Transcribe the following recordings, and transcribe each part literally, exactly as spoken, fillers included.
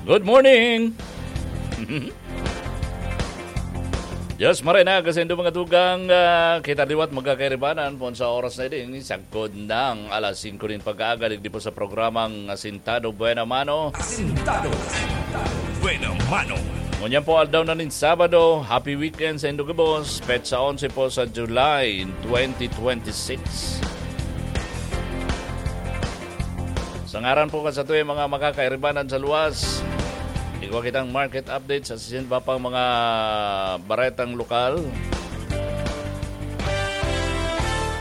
Good morning! Diyos marhay na aga saindo, mga tugang, ah, kita liwat magkakairibanan pon sa oras na ini, sagkod ng alas singko nin pag-aaga, digdi po sa programang Asintado Buena Mano. Asintado Buena Mano. Ngunyan po, aldaw na nin Sabado, happy weekend saindo gabos, petsa onse po sa July twenty twenty-six. Sa ngaran po kan satuyang mga makakairibanan sa luwas, igwa kitang market update sa iba pang mga baretang lokal.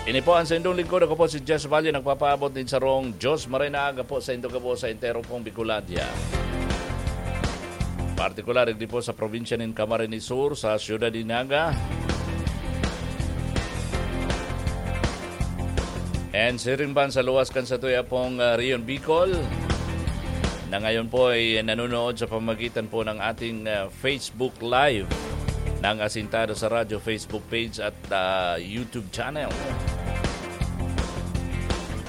Ini po ang saindong lingkod. Ako po si Jess Valle, nagpapaabot nin sarong Diyos marhay na aga po saindo gabos sa entero pong Bicolandia. Partikular, digdi po sa probinsya nin Camarines Sur, sa siyudad nin Naga. And siring pa sa luwas kan satuya pong, ah, Riyon Bicol, na ngayon po ay nanonood sa pamagitan po ng ating, ah, Facebook Live ng Asintado sa Radyo Facebook page at, ah, YouTube channel.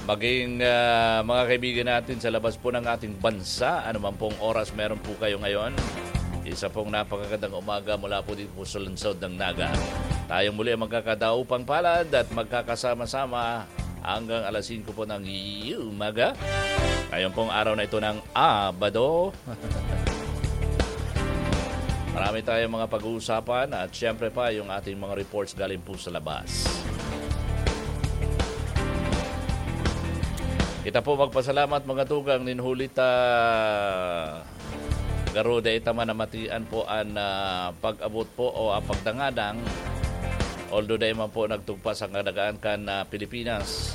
Maging, ah, mga kaibigan natin sa labas po ng ating bansa, anuman pong oras meron po kayo ngayon, isa pong napakagandang umaga mula po dito po sa lungsod ng Naga. Tayong muli ang magkakadaupang palad at magkakasama-sama hanggang alas singko po ng umaga. Ngayon pong araw na ito ng Abado. Marami tayong mga pag-uusapan at siyempre pa yung ating mga reports galing po sa labas. Kita po magpasalamat, mga tugang, nin huli ta garo dai ta man namatian po an, ah, pag-abot po o, ah, pagdangadang. Although dai man po nagtugpas ang kadagaan kan, ah, Pilipinas,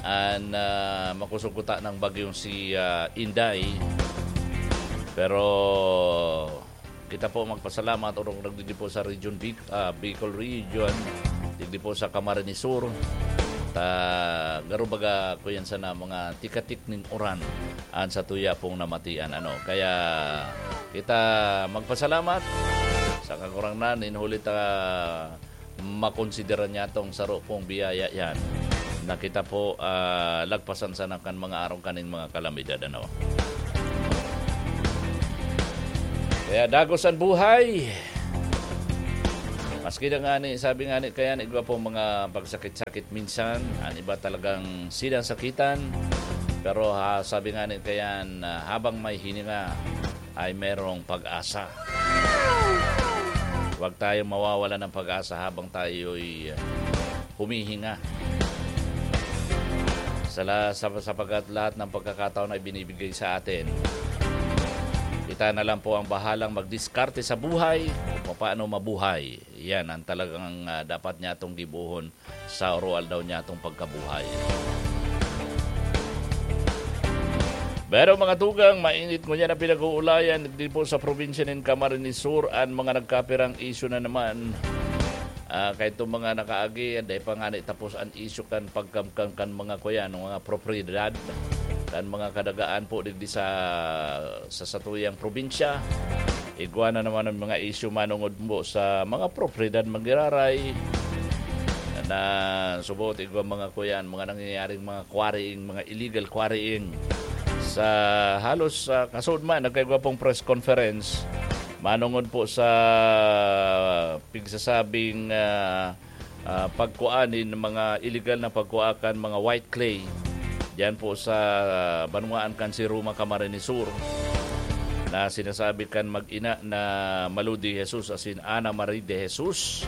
an, ah, makosog kuta ng bagyong si, ah, Inday. Pero kita po magpasalamat, orong nagdigdi po sa Region Bic-, ah, Bicol Region, digdi po sa Camarines Sur. Ta, garo baga ko yan sana mga tikatik nin uran an satuya pong namatian, ano. Kaya kita magpasalamat sa Kagurangnan, nin huli ta makonsidera niya tong saro pong biyaya yan na kita po, ah, lagpasan sana kan mga arog kaning mga kalamidad, ano. Kaya dagos an buhay. Maski na ngani, sabi ngani kaya, igwa pong mga pagsakit-sakit minsan, an iba talagang sinasakitan. Pero, ha, sabi ngani kaya, na habang may hininga, ay merong pag-asa. Huwag tayong mawawalan ng pag-asa habang tayo'y humihinga. Sa la-, sa, sapagkat lahat ng pagkakataon ay binibigay sa atin. Kita na lang po ang bahalang magdiskarte sa buhay kung paano mabuhay. Yan ang talagang, ah, dapat niya itong gibohon sa oro-aldaw niya itong pagkabuhay. Pero, mga tugang, mainit ngunyan na pinag-uulayan din po sa probinsya nin Camarines Sur an mga nagkapirang isyu na naman. Ah, kay itong mga nakaagi, dai pa ngani tapos an isyu kan pagkamkam kan mga kuyan, mga propiedad, kan mga kadagaan po digdi sa, sa satuyang probinsya. Igwa na naman ang mga isyu manungod mo sa mga propiedad magiraray na subot igwa mga kuyan, mga nangyayaring mga quarrying, mga illegal quarrying. Sa halos, ah, kasunod man, nagkaigwa pong press conference manungod po sa pigsasabing, ah, ah, pagkuan nin mga illegal na pagkuha kan mga white clay diyan po sa banwaan kan Siruma, Camarines Sur, na sinasabi kan mag-ina na Malu de Jesus asin Ana Marie de Jesus.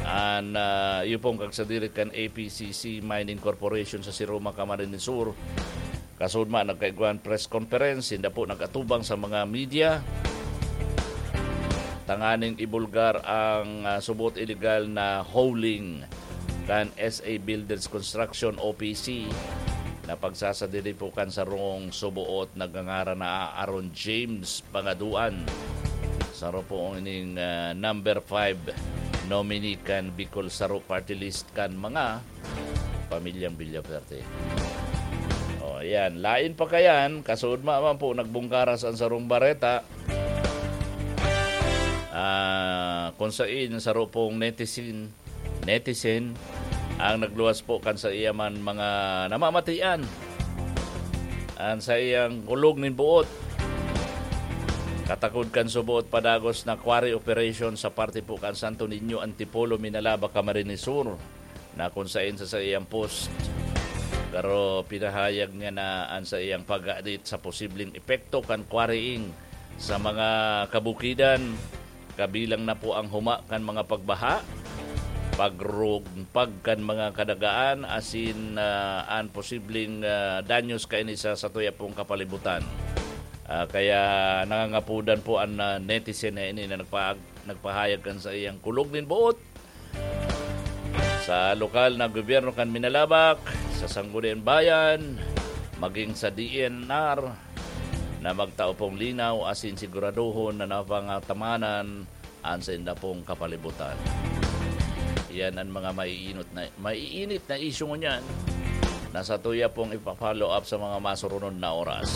An, ah, iyo pong kagsadiri kan A P C C Mining Corporation sa Siruma, Camarines Sur, kasudma nagkaigwan press conference, sinda po nag-atubang sa mga media tanganing ibulgar ang, ah, subot iligal na howling kan S A Builders Construction, O P C, na pagsasadiri po kan sarong suboot nagngangaran na Aaron James Pangaduan. Saro po ining, ah, number five nominee kan Bicol Saro Party List kan mga pamilyang Villafuerte. O, ayan. Lain pa kayan, kasudma man po, nagbungkaras ang sarong bareta. Ah, kung sain, saro pong netizen, netizen, ang nagluwas po kan sa iya man mga namamatian. Ang sa iyang kulog nin buot. Katakod kan suboot padagos na quarry operation sa parte po kan Santo Niño, Antipolo, Minalabac, Camarines Sur, na kung sain sa saiyang post, pero pinahayag niya na an saiyang pag-aadit sa posibleng epekto kan quarrying sa mga kabukidan, kabilang na po ang huma kan mga pagbaha, pagrugpag kan mga kadagaan, asin, ah, an posibleng, ah, danyos kaini sa satuya pong kapalibutan. Ah, kaya nangangapudan po an, ah, netizen na ini na nagpa-, nagpahayag kan saiyang kulog nin boot sa lokal na gobyerno kan Minalabac, sa Sangguniang Bayan, maging sa D E N R na magtao pong linaw asin siguraduhon na napangatamanan an sainda pong kapalibutan. Iyan an mga maiinot na, maiinit na isyu ngunyan na satuya pong ipa-follow up sa mga masurunod na oras.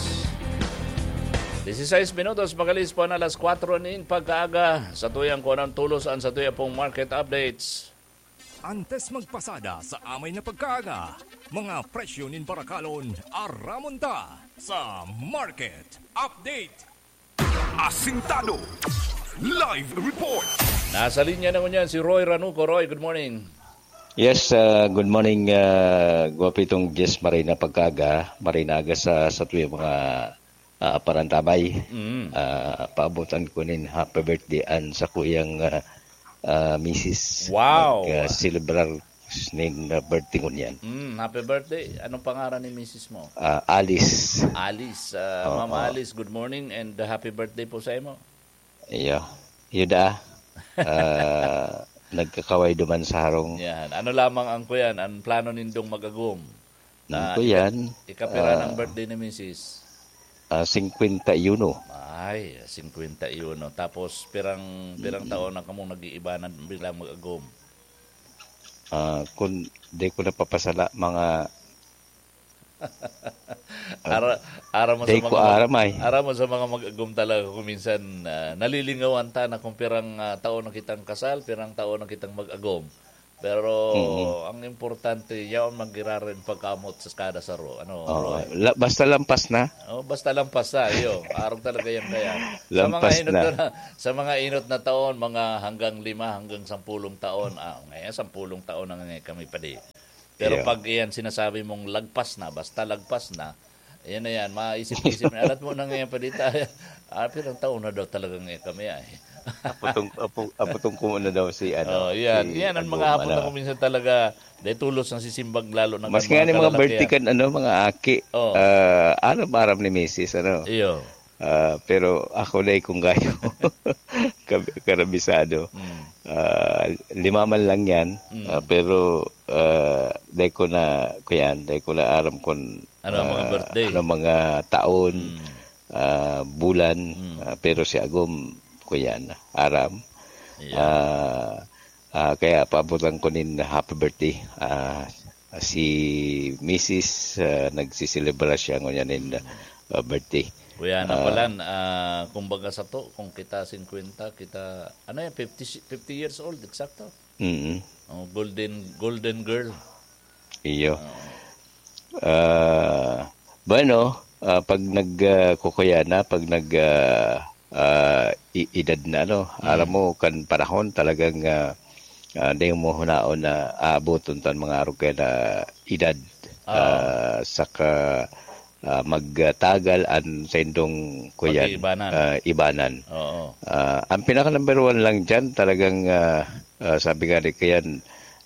Dieciséis minutos, magalis po na alas kwatro nin pagkaaga. Satuyang kuanan tolos an satuya pong market updates. Antes magpasada sa amay na pagkaaga, mga presyo nin barakalon, aramon ta sa market update. Asintado. Live report. Nasa linya na ngunyan si Roy Ranuco. Roy, good morning. Yes, ah, good morning, ah, Guapitong Jess Marina Pagkaga, Marinaga sa, sa tuwing mga, ah, parantabay. Mm. Ah, paabotan ko nin happy birthday an sa kuyang, ah, ah, misis. Wow. Mag, ah, celebrar nin, ah, birthday ko niyan. Mm, happy birthday. Anong pangaran ni misis mo? Ah, Alice. Alice. Ah, Oo. Mama Alice, good morning and happy birthday po sa imo. Iyo. Iyo da. Ah, nagkakaway duman sa harong. Yan. Ano lamang ang kuyan, ang plano nindong mag-agom? Ang Na kuyan, ika-, ikapira ah, ng birthday ni misis? Ah, singkwenta y uno. Ay, singkwenta y uno. Tapos, pirang, pirang Mm-mm. taon na kamong nag-iibanan bilang mag-agom? Ah, kun di ko napapasala, mga Ara-, aram mo sa Dai ko mga mag-, aram ay. aram mo sa mga mag-agom talaga kung minsan, ah, nalilingawan ta na kung pirang, ah, taon na kitang kasal, pirang taon na kitang mag-agom. Pero Mm. ang importante, yaon man giraray an pagkamoot sa kada saro. Ano, Oo. Roy? La-, basta lampas na. Oh, basta lampas na, iyo. Arog talaga yan kaya. Sa mga Lampas inot na. na, sa mga inot na taon, mga hanggang lima, hanggang sampulong taon. Ah, ngayon, sampulong taon na nga kami, padi. Pero Iyo. pag iyan sinasabi mong lagpas na, basta lagpas na, ayan na yan, maisip-isip na, alat mo na ngayon pa dito, ah, pirang taon na daw talaga ngayon kami ay. Aputong, apu-, aputong ko na daw si, ano, Oh, yan. si Yan ang Agom, mga hapon ano. na kung minsan talaga, dahil tulos ang sisimbag lalo ng Mas mga nga ni mga kalalaki birthday yan. kan, ano, mga aki, Oh. ah, aram-aram ni misis, ano. Iyo. Ah, pero ako na ikong gayo. Kab-, karabisado. Mm. Ah, lima man lang yan. Mm. Ah, pero, ah, dai ko na, kuyan, dai ko na aram kung, Ano ang mga ah, birthday? ano mga taon, Mm. ah, bulan. Mm. Ah, pero si Agom, kuyan, aram. Yeah. Ah, ah, kaya paabotan ko nin happy birthday. Ah, si misis, ah, nagsiselebra siya ngunyan nin, ah, birthday. Kuya, ano Ah. pala, ah, kumbaga sato, kung kita singkwenta, kita, ano yan, fifty, fifty years old, eksakto? Mm. Oh, golden, golden girl. Iyo. Oo. Ah, bueno, ah, pag nag, ah, kukuya na, pag nag, ah, ah, i-, edad na, ano, Mm. alam mo, kan panahon talagang, ah, ah, dai mo hunaon na aaboton ta an mga arog kaya na edad. Oo. Ah, saka, ah, magtagal an saindong kuyan, Pag-iibanan. ah, ibanan. Oo. Ah, ang pinaka number one lang diyan, talagang, ah, ah, sabi nga ni kuyan,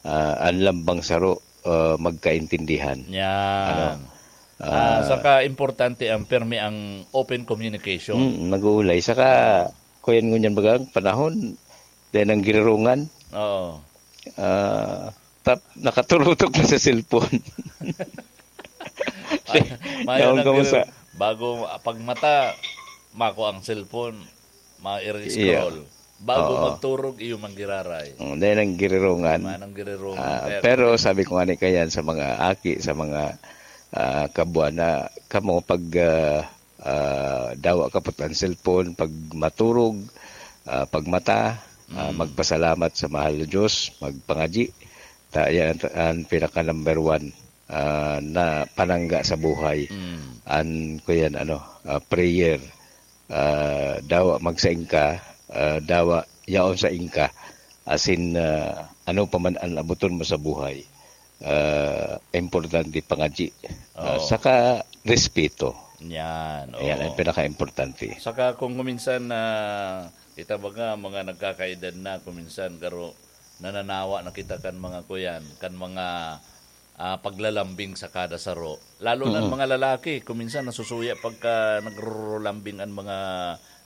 ah, an lambang saro, ah, magkaintindihan. Yan. Ano? Ah, Ah, saka importante ang permi ang open communication. Mm, mag-uulay. Saka, kuyan ngunyan bagang panahon, dai nang girirungan. Oo. Ah, tap-, nakaturutok na sa cellphone. Ay, mayo Yaon na ka mo giro. sa Bago, ah, pagmata, mako ang cellphone, ma-scroll. Iya. Bago Oo. magturog, iyo man giraray. Mm, dai nang girirungan. Manang girirungan. Ah, Kaya pero sabi ko nga ni kayan sa mga aki, sa mga, ah, kabuan na kamo pag, ah, ah, dawa ka put ang cellphone, pag maturog, ah, pagmata, ah, Mm. magpasalamat sa mahal na Diyos, magpangadyi. Ta-, yan ang, ang pinaka number one, ah, na panangga sa buhay. Mm. An, kuyan, ano, ah, prayer. ah, dawa magsaing ka, ah, dawa yaon saing ka, asin, ah, ano pa man an aboton mo sa buhay, ah, importante pangadyi, ah, Oo. saka respeto. Yan, Yan ang oo. pinakaimportante. Saka kung kuminsan na, kita baga, mga nagkakaedad na, kuminsan, garo, nananawa na kita kan mga kuyan, kan mga, ah, paglalambing sa kada saro. Lalo na ang Mm. mga lalaki, kuminsan nasusuya pagka nagrurulambing an mga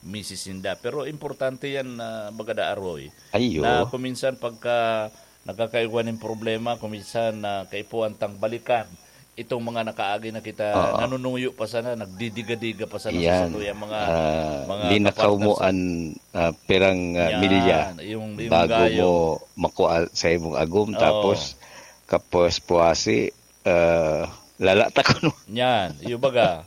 misis ninda. Pero importante yan, ah, Bagada Aroy, Ayo. na kuminsan pagka nagkakaigwa nin problema, kuminsan na kaipuhan tang balikan itong mga nakaagi na kita, Oo. nanunuyo pa sana, nagdidiga-diga pa sana sa Yan. satuya mga, Ah, mga linakaw mo kapartners. an, ah, pirang, ah, Yan, milya yung, yung bago gayo. mo makua sa imong agom, Oo. tapos kapos puwasi, ah, lala ta kuno. Yan, yung baga.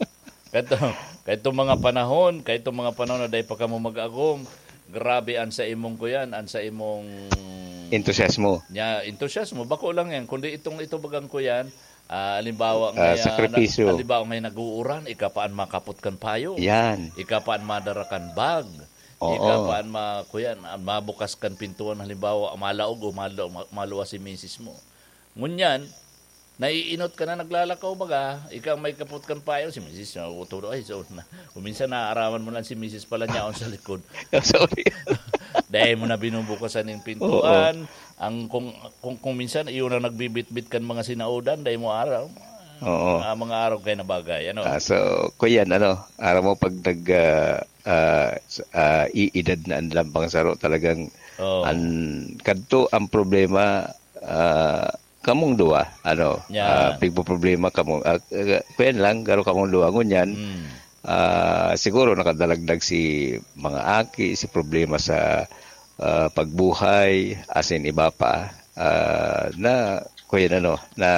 Kaito, kaito mga panahon, kaito mga panahon na dai pa kamo mag-agom, grabe an sa imong kuyan, an sa imong Entusiasmo. Nya, entusiasmo, bako lang yan. Kundi itong, ito bagang kuyan, ah, halimbawa Ah, ngayon, sakripisyo. halimbawa ngayon nag-uuran, ika pa an makapot kan payo. Yan. Ika pa an madara kan bag. Oo. Ika pa an ma-, kuyan, an mabukas kan pintuan, halimbawa, malaog o malo-, ma-, maluwas si misis mo. Ngunyan, naiinot ka na, naglalakaw baga, ika ang may kapot kan payo, si misis mo, uturo, ay, so, na, kung minsan naaaraman mo lang si misis pala niya on sa likod. Sorry. Dahil mo na binubukasan yung pintuan, Oo. ang kung, kung, kung minsan, iyon ang nagbibitbit kan mga sinaodan, dahil mo araw, Oo. ah, mga araw kayo na bagay, ano? Ah, so, kuyan, ano, aram mo, pag nag, ah, ah, s-, ah, iidad na ang lambang saro, talagang Oo. an, kadto ang problema, ah, kamong duwa, ano, Yan. ah, pigpoproblema kamo, ah, ah, kuyan lang, garo kamong duwa, ngunyan, Mm. ah, siguro nakadalagdag si mga aki, si problema sa, ah, pagbuhay, asin iba pa, ah, na, kuyan, ano, na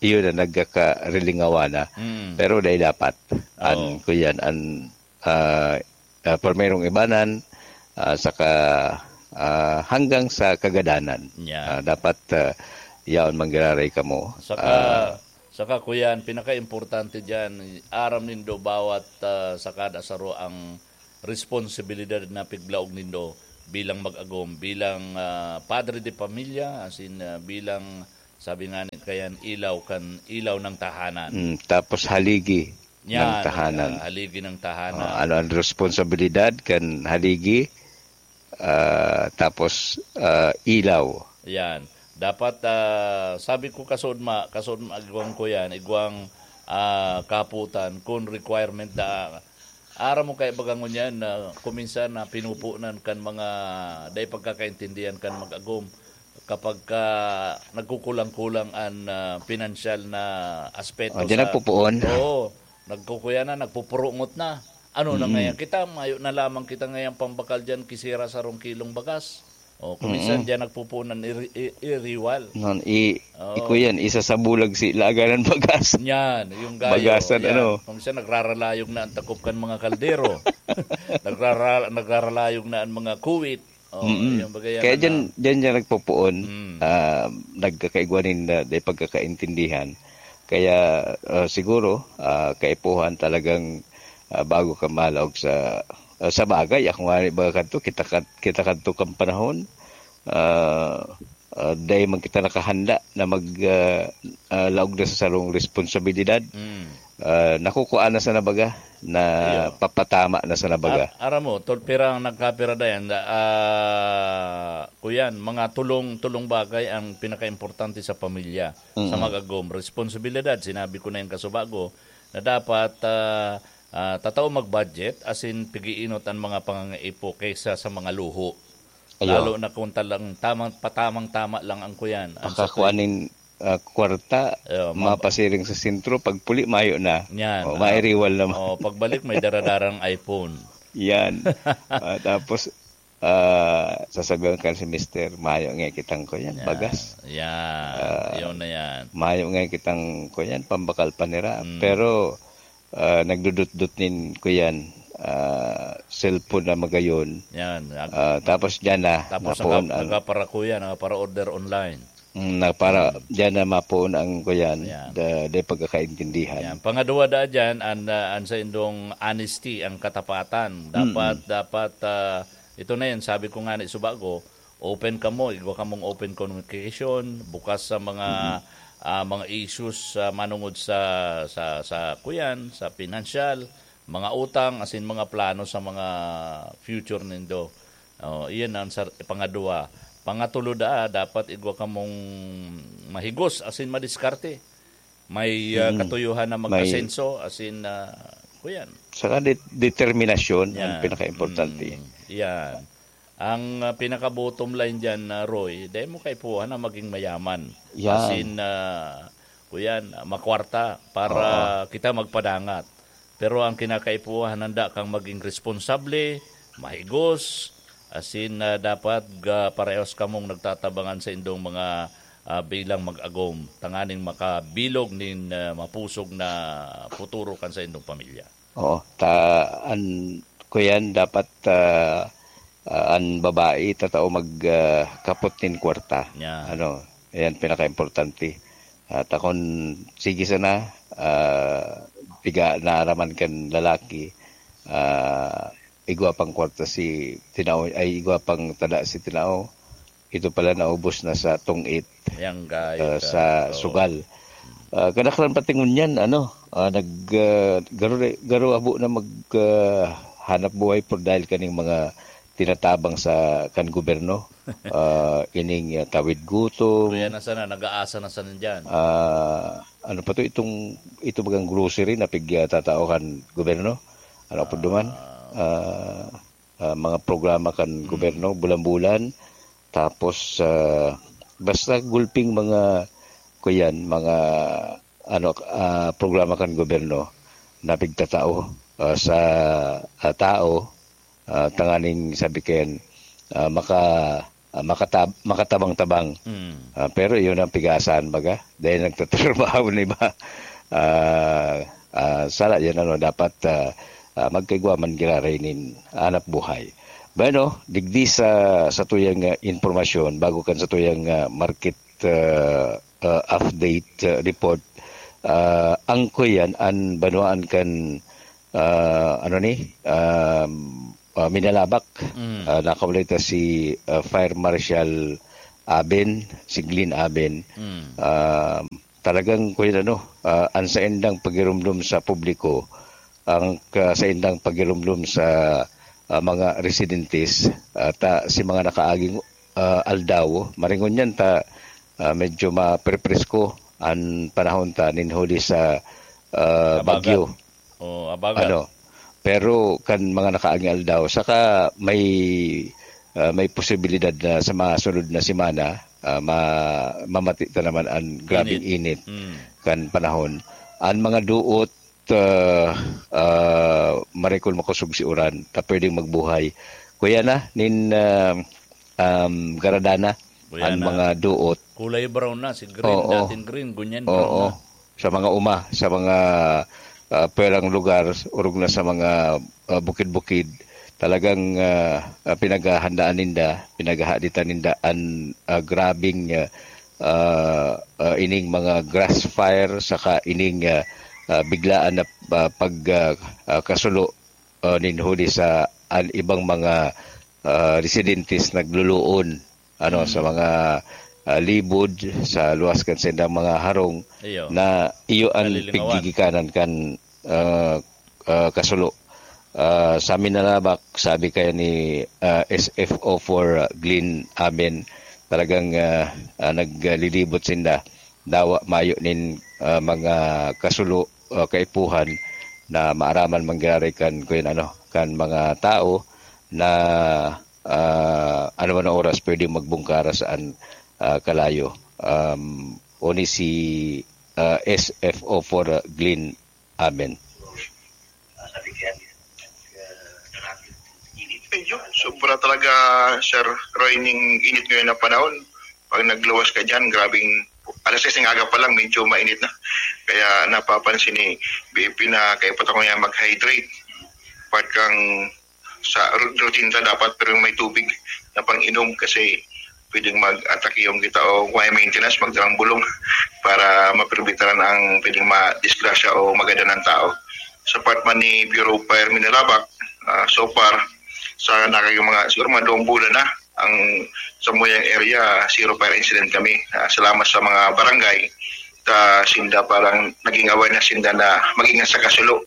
iyon na nagkakarilingawa na. Mm. Pero dai dapat, an, Oo. kuyan, an, ah, ah, primerong ibanan, ah, saka, ah, hanggang sa kagadanan. Yan. Ah, dapat, ah, yaon manggiraray kamo. Saka, Ah. saka, kuyan, pinakaimportante diyan, aram nindo bawat, ah, sa kada saro ang responsibilidad na piglaog nindo bilang mag-agom, bilang, ah, padre de pamilya, as in, ah, bilang, sabi nga ni kayan, ilaw kan, ilaw ng tahanan. Mm, tapos haligi ng Yan, tahanan. ah, haligi ng tahanan. Ah, ano ang responsibilidad kan haligi? Ah, tapos, ah, ilaw. Yan. Dapat, ah, sabi ko, kasod ma-, kasod ma-, igwang ko yan, igwang, ah, kaputan, kung requirement na, aram mo kaya baga ngunyan na kuminsan na pinupunan kan mga dai pagkakaintindihan kan mag-agom kapag ka nagkukulang-kulang an, ah, pinansyal na aspeto Oh, di sa nagpupuon? Oo. Nagkukuya na, nagpupurungot na. Ano na Mm. ngayon kita? Mayo na lamang kita ngayon pambakal diyan, kisira sarong kilong bagas. O, kung minsan Mm. diyan nagpupunan iri-, i-, iriwal. Non, i-, Oo. ikuyan, isa sa bulag si laganan bagas. Yan, yung gayo. Bagasan, Yan. ano? Kung minsan nagraralayog na ang takop kan mga kaldero. Nagrara-, nagraralayog na ang mga kuwit. Oo, Mm. yung bagay Kaya yan, diyan, ano. diyan, diyan nagpupuon, Mm. ah, nagkakaigwa nin, ah, di pagkakaintindihan. Kaya, ah, siguro, ah, kaipuhan talagang, ah, bago ka malaog sa, ah, sa bagay. Ako nga, iba kadto, kita kad-, kita kadto kang panahon, ah, ah, dai man kita nakahanda na mag, ah, ah, laog na sa sarong responsibilidad. Mm. Ah, nakukuha na sa nabaga, na Iyo. papatama na sa nabaga. Ar-, aram mo, tol, pirang nagkapira dayan, ah, kuyan, mga tulong, tulong bagay ang pinakaimportante sa pamilya, sa Mm. mag-agom. Responsibilidad, sinabi ko na yung kasubago, na dapat, ah, ah, tatao mag-budget, as in, pigiinot ang mga pangangaipo kaysa sa mga luho. Ayo. Lalo na kung talang tamang, patamang-tama lang ang kuyan. Ang Pakakuha sa ning, ah, kwarta, Ayo, mab- mapasiring sa sentro, pagpuli, mayo na. Yan, O, ah, mairiwal naman. o, pagbalik, may daradarang iPhone. Yan. Ah, tapos, ah, sasabihan ka si mister, "Mayo nga kitang ko yan, Yan. bagas." Yan. Ah, Yun na yan. "Mayo nga kitang ko yan, pambakal pa nira." Mm. Pero, ah, nagdudutdut nin, kuyan, ah, cellphone na magayon. Yan, nag- Ah, tapos diyan na, Tapos napoon nagka-, ang nagkaparakuyan, nagkapara-order online. Mm, na para diyan na mapuon ang kuyan, Yan. the, the pagkakaintindihan. Yan. Pangadwa da dyan, an, ah, an sa indong honesty, ang katapatan. Dapat, Mm. dapat, ah, ito na yan, sabi ko nga ni Subago, open kamo, igwa kamong open communication, bukas sa mga, Mm. ah, mga issues, ah, manungod sa, sa, sa kuyan, sa pinansyal, mga utang, asin mga plano sa mga future nindo. Oh, iyan ang sar-, pangadwa. Pangatlo da, dapat igwa kamong mahigos, asin madiskarte. May, ah, Mm. katuyuhan na May magkasenso, asin, ah, kuyan. Saka det-, determinasyon ang Yan. pinakaimportante. Mm, yan. Ang, ah, pinaka-bottom line dyan, ah, Roy, dahil mo kaipuhan na maging mayaman. Yan. Asin, ah, kuyan, ah, makwarta para Oo. kita magpadangat. Pero ang kinakaipuhan, handa kang maging responsable, mahigos, asin, ah, dapat ga-, parehas kamong nagtatabangan sa indong mga, ah, bilang mag-agom, tanganing makabilog nin, ah, mapusog na futuro kan sa indong pamilya. Oo, ta-, an-, kuyan, dapat, ah, ah, an babae, tatao mag, ah, kapot nin kwarta. Yan. Ano, yan pinakaimportante. At akon, sige sana, ah, piga naaraman kan lalaki, ah, igwa pang kwarta si tinao, ay, igwa pang tada si tinao. Ito pala naubos na sa tungit, Yang gayo ah, ka. sa Oo. sugal. Ah, kadaklan pati ngunyan, ano, ah, nag, ah, garo, garo abo na mag, ah, hanap buhay por dahil kaning mga tinatabang sa kan gobyerno. Ah, ining, ah, tawid gutom. Kaya na sana, nag-aasa na sana dyan. Ah, ano pa to, itong, ito bagang grocery na pig, ah, tatao kan gobyerno? Ano pa duman? Ah, ah, mga programa kan Mm. gobyerno, bulan-bulan. Tapos, ah, basta gulping mga, kuyan, mga, ano, ah, programa kan gobyerno na pigtatao, ah, sa, ah, tao, ah, tanganing sabi kayan, ah, maka-, ah, makatab-, makatabang-tabang. Mm. Ah, pero yun ang pigasan, baga. Dahil nagtatrabaho na iba. Ah, ah, sala yan, ano, dapat, ah, ah, magkaigwa man giraray nin hanap buhay. Bueno, digdi sa, sa tuyang, ah, impormasyon, bago kan sa tuyang, ah, market, ah, ah, update, ah, report, ah, ang kuyan, an banwaan kan, ah, ano ni, um, ah, Minalabak. Mm. Ah, nakabalita si, ah, Fire Marshal Aben, si Glenn Aben. Mm. Ah, talagang, kuyan, ano, ah, ang saindang pagirumdom sa publiko, ang ka-, saindang pagirumdom sa, ah, mga residentes, ah, ta, si mga nakaaging, ah, aldaw, maringon yan ta, ah, medyo maprepresko an panahon ta nin huli sa, ah, Habagat. bagyo. O, habagat. Ano, pero kan mga nakaaging aldaw, saka may, ah, may posibilidad na sa mga sunod na semana, ah, ma-, mamati ta naman an grabing Init. init Mm. kan panahon. An mga duot, ah, ah, marikol makosog si uran, ta pwedeng magbuhay. Kuya na, nin, ah, um, garadana, Kuya an na. mga duot. Kulay brown na, si green, Oo. dating green, gunyan brown Oo. na. Sa mga uma, sa mga, ah, pwerang lugar, orog na sa mga, ah, bukid-bukid, talagang, ah, ah, pinaghahandaan ninda, pinaghahaditan ninda an, ah, grabing, ah, ah, ah, ining mga grass fire, saka ining, ah, ah, biglaan na, ah, pag, ah, ah, kasulo, ah, nin huli sa an ibang mga, ah, residentes nagluluon, ano, Mm. sa mga, ah, libod, sa luwas kan saindang mga harong Iyo. na iyo an Nalilingawan. piggigikanan kan, ah, ah, kasulo. Ah, sa Minalabak, sabi kaya ni, ah, S F O four, ah, Glenn Aben, talagang, ah, ah, naglilibot sinda. Dawa mayo nin, ah, mga kasulo, ah, kaipuhan na maaraman man giraray kan, kuyan, ano, kan mga tao na, ah, ano man ang oras pwede magbungkara saan, ah, kalayo. Um, o ni si, ah, S F O four, ah, Glenn Aben. Medyo, sobra talaga, Sir Roy, ning init ngayon na panahon. Pag nagluwas ka dyan, grabing alas sais ng aga pa lang, medyo mainit na. Kaya napapansin ni B F P na kaipat ako niya mag-hydrate. Part kang sa ru-, routine ta dapat pero may tubig na pang-inom kasi pwedeng mag-atake yung kita o kung may maintenance, magdalang bulong para mapirbitaran ang pwedeng madisgrasya o magadanan tao. Sa part man ni Bureau of Fire Minalabac, ah, so far, sa nakaging mga, siguro mga dalawang bulan na, ang sa Muyang area, zero fire incident kami. Ah, salamat sa mga barangay, ta sinda parang naging aware na sinda na mag-ingat sa kasulo.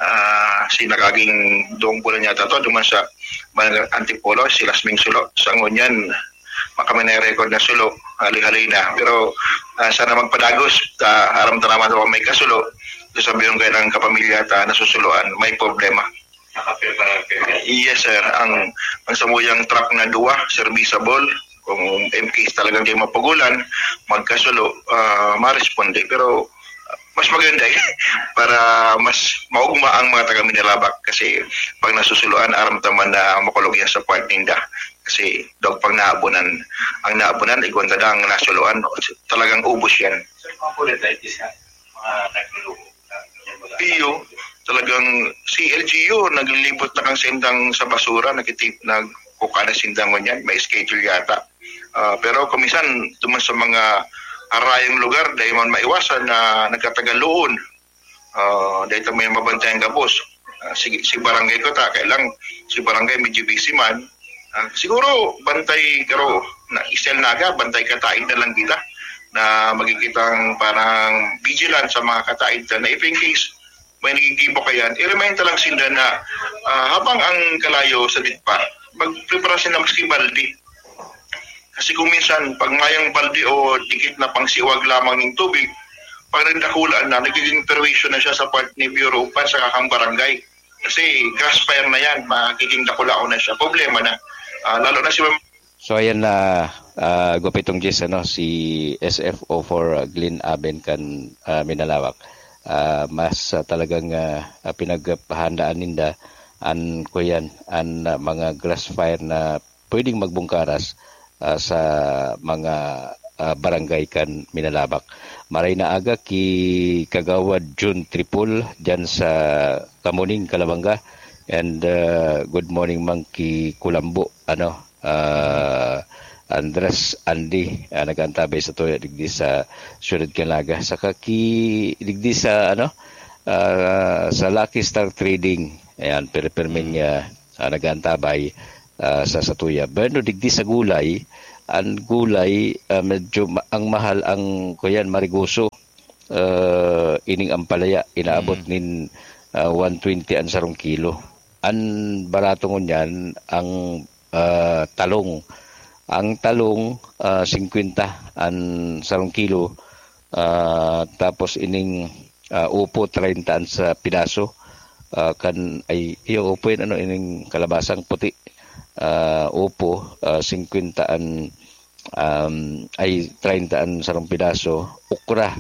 Ah, si nakaging dalawang bulan yata to, duman sa Barangay Antipolo, si Lasming Sulo. Sa ngunyan, kami na record na sulo, haloy-haloy na. Pero ah, sana magpadagos, ta aram ta naman kung may kasulo, sasabihin kayo ng kapamilya ta nasusuloan, may problema. Nakapirma lang kayo? Yes, sir. Ang, ang samuyang truck na duwa, serviceable. Kung in case talagang kayo mapugulan, magkasulo, ah, maresponde. Pero ah, mas maganda eh, para mas maugma ang mga taga Minalabac kasi pag nasusuloan, aram ta man na makulog yan sa part ninda. Kasi daog pang naabunan. Ang naabunan, igwan ta ang nasuloan, talagang ubos yan. Sir, mga bullet light, isa, mga nagluluho. Iyo, talagang si L G U, naglilibot na kang sendang sa basura, nakitip, nagkukana sindang ngunyan, may schedule yata. Ah, pero kuminsan, duman sa mga arayong lugar, dahil man maiwasan na nagkatagaluon. Ah, dahil may mabantayan gabos. Ah, sige, si barangay ko ta, kaya lang, si barangay medyo busy man. Ah, siguro, bantay, pero na isel naga, bantay kataid na lang kita na magigitang parang vigilant sa mga kataid na if in case may nagigibok kayan, i-remind ta lang sinda na ah, habang ang kalayo sa ditpa, magprepara sila maski balde. Kasi kung minsan, pag mayang balde o dikit na pangsiwag lamang ng tubig, pag nagdakulaan na, nagiging perwisyo na siya sa part ni Bureau of Fire sa kakang barangay. Kasi grass fire na yan, magiging dakulaon na siya. Problema na. Ah, lalo na si Ma'am So ayan na, ah, Gupitong Jis, ano, si S F O for Glen Aven kan, ah, Minalawac. Ah, mas, ah, talagang, ah, ah, pinagpahandaan ninda an, kuyan, an, ah, mga grass fire na pwedeng magbungkaras, ah, sa mga, ah, barangay kan Minalabac. Maray na aga ki Kagawad Jun Tripol diyan sa Kamuning, Calabanga. And, ah, good morning man ki Kulambo, ano, ah, Andres Andy, ah, nag-aantabay sa tuya digdi sa Siyudad kan Naga. Saka ki, digdi sa, ano, ah, sa Lucky Star Trading. Ayan, pirmi-pirming, ah, ah, nag-aantabay, ah, sa satuya. Bueno, digdi sa gulay, ang gulay, ah, medyo ma-, ang mahal, ang, kuyan, marigoso. Ah, ining ampalaya, inaabot Mm. nin, ah, one twenty an sarong kilo. An barato ngunyan, ang, ah, talong. Ang talong, ah, singkwenta an sarong kilo. Ah, tapos ining, ah, upo, treinta an sa pidaso. Ah, kan, ay, yung upo yun, ano, ining kalabasang puti. Ah, upo, ah, singkwenta an, um, ay, treinta an sarong pidaso. Okra,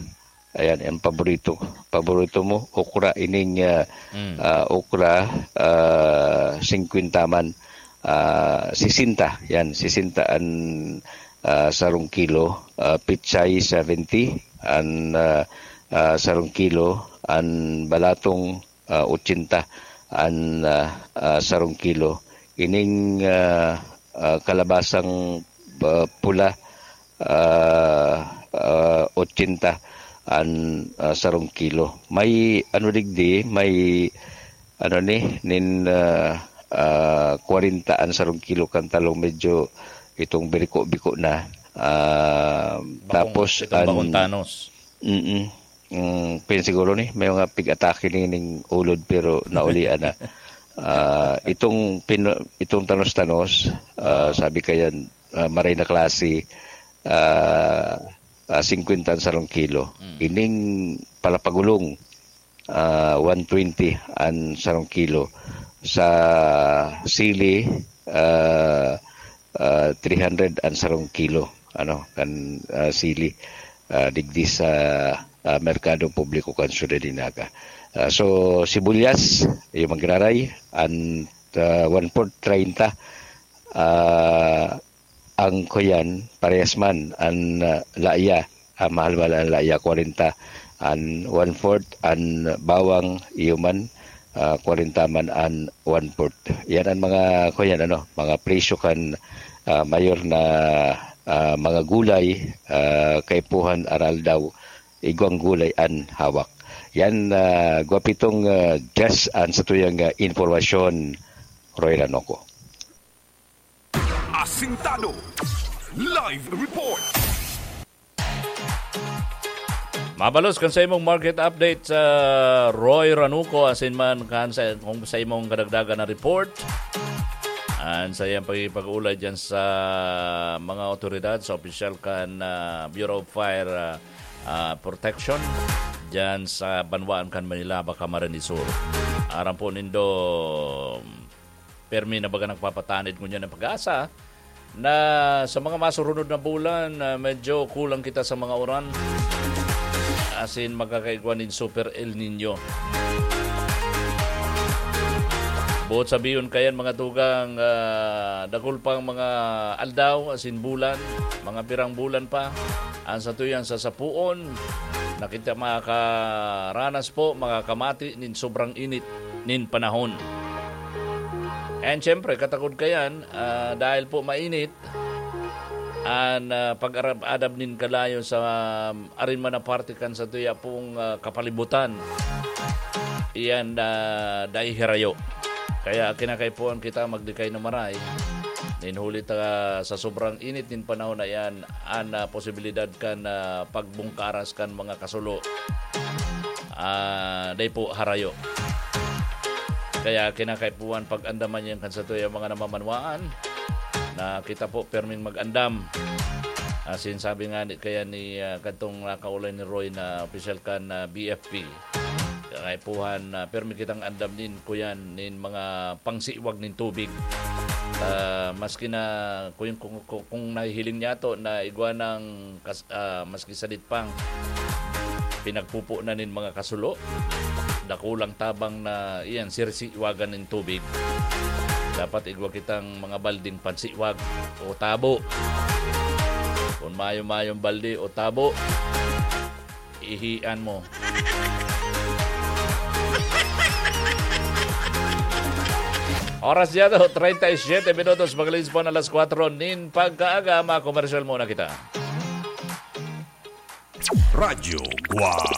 ayan, ang paborito. Paborito mo, okra, ining, ah, Mm. ah, okra, ah, singkwenta man. Ah, sesenta, yan, sesenta an, ah, sarong kilo. Ah, pichay, seventy an, ah, ah, sarong kilo. An balatong, ah, ochenta an, ah, ah, sarong kilo. Ining, ah, ah, kalabasang, ah, pula, ah, ah, ochenta an, ah, sarong kilo. May ano digdi, may ano ni, nin, ah, ah, kwarenta an sarong kilo kan talong. Medyo itong biriko-biko na. Ah, Bakong, tapos itong an bakong tanos. Mm. Mm, pin siguro ni, may mga pig-atake ni ning ulod pero naulian na. Ah, itong pin-, itong tanos-tanos, ah, sabi kayan, ah, maray na klase, ah, ah, singkwenta an sarong kilo. Mm. Ining palapagulong, ah, one twenty an sarong kilo. Sa sili, ah, ah, three hundred an sarong kilo, ano, kan, ah, sili, ah, digdi sa, ah, merkado publiko kan Ciudad de Naga. Ah, so, sibuyas, yung magraray, an, ah, one-fourth, treinta. Ah, ang kuyan, parehas man, an, ah, laya, ah, mahal-mahal an laya, kwarenta. An one-fourth, an bawang, iyo man, ah, kwarenta man an one-fourth. Yan ang mga, kuyan, ano, mga presyo kan, ah, mayor na ah, mga gulay, ah, kaipuhan aral daw, igwang gulay an hawak. Yan, ah, gwapitong, ah, Jess, an satuyang, ah, informasyon, Roy Ranoco. Asintado. Live report. Mabalos kan sa imong market update sa Roy Ranuco, asin man kan sa, kung sa imong kadagdagan na report. An sa iyang pagkikipag-ulay dyan sa mga otoridad, sa opisyal kan, ah, Bureau of Fire, ah, ah, Protection dyan sa banwaan kan Manila, Camarines Sur. Aram po nindo, permi na baga nagpapatanid ngunyan ang pag-asa na sa mga masurunod na bulan, ah, medyo kulang kita sa mga uran. Asin magkakaigwa nin Super El Nino. Buot sabihon kayan, mga tugang, ah, dakul pang mga aldaw, asin bulan, mga pirang bulan pa, ang satuyan sa sapuon, na kita makakaranas po, makakamati nin sobrang init nin panahon. And syempre, katakod kayan, ah, dahil po mainit, an, ah, pag-arab-adab nin kalayo sa, um, arin man na parte kan satuya pong, ah, kapalibutan. Iyan, ah, dai hirayo. Kaya kinakaipuhan kita magdikay na maray. Nin huli ta sa sobrang init nin panahon na iyan, an, ah, posibilidad kan, ah, pagbungkaras kan mga kasulo, ah, dai po harayo. Kaya kinakaipuhan pag-andaman yan kan satuya mga namamanwaan na kita po perming mag-andam. Asin sabi nga ni, kaya ni, ah, kadtong nakaulay ni Roy na opisyal kan, ah, B F P, kaipuhan na permi kitang andam nin kuyan nin mga pangsiwag nin tubig. Ah, maski na kung, kung, kung, kung nahihiling niya to na igwa ng kas, ah, maski sadit pang pinagpupo na nin mga kasulo, dakulang tabang na iyan sirsiwagan nin tubig. Dapat igwa kitang mga balding pansiwag o tabo. Kung mayo-mayong balde o tabo, ihian mo. Oras niya to, treinta y siete minutos, mag-alis po na alas kwatro nin pagkaaga, mga komersyal muna kita. Radyo Guwang.